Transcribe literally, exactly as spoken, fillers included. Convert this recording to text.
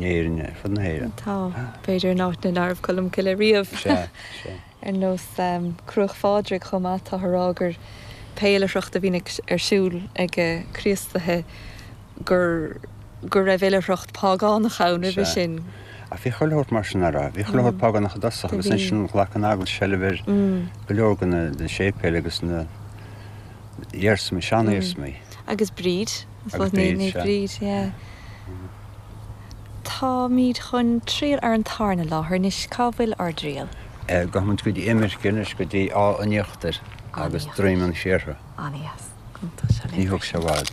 in Éirinn, ar fud na hÉireann. Tá, b'fhéidir in áit nach raibh Colm Cille riamh. Sea, sea. Ar nós Cruach Phádraig chomh maith, táthar a rá gur pé oilithreacht a bhíonn ar siúl ag Críostaithe gur go raibh oilithreacht págánach ann roimhe sin. Ach bhí chuile shórt mar sin, an raibh? Bhí chuile shórt págánach i dtosach agus ansin ghlac an Eaglais seilbh ar go leor de na séipéil agus na hiarsmaí, sean-iarsmaí. Agus Bríd, Agus Bríd, sea. Bríd, yeah. Táimid chun triall ar an tarna láthair anois. Cá bhfuil ár dtriall? Gabhfaidh muid go dtí Imirce anois, go dtí Áth an Íochtair agus Droim an Siortha. An-dheas. Ní thógfaidh sé i bhfad.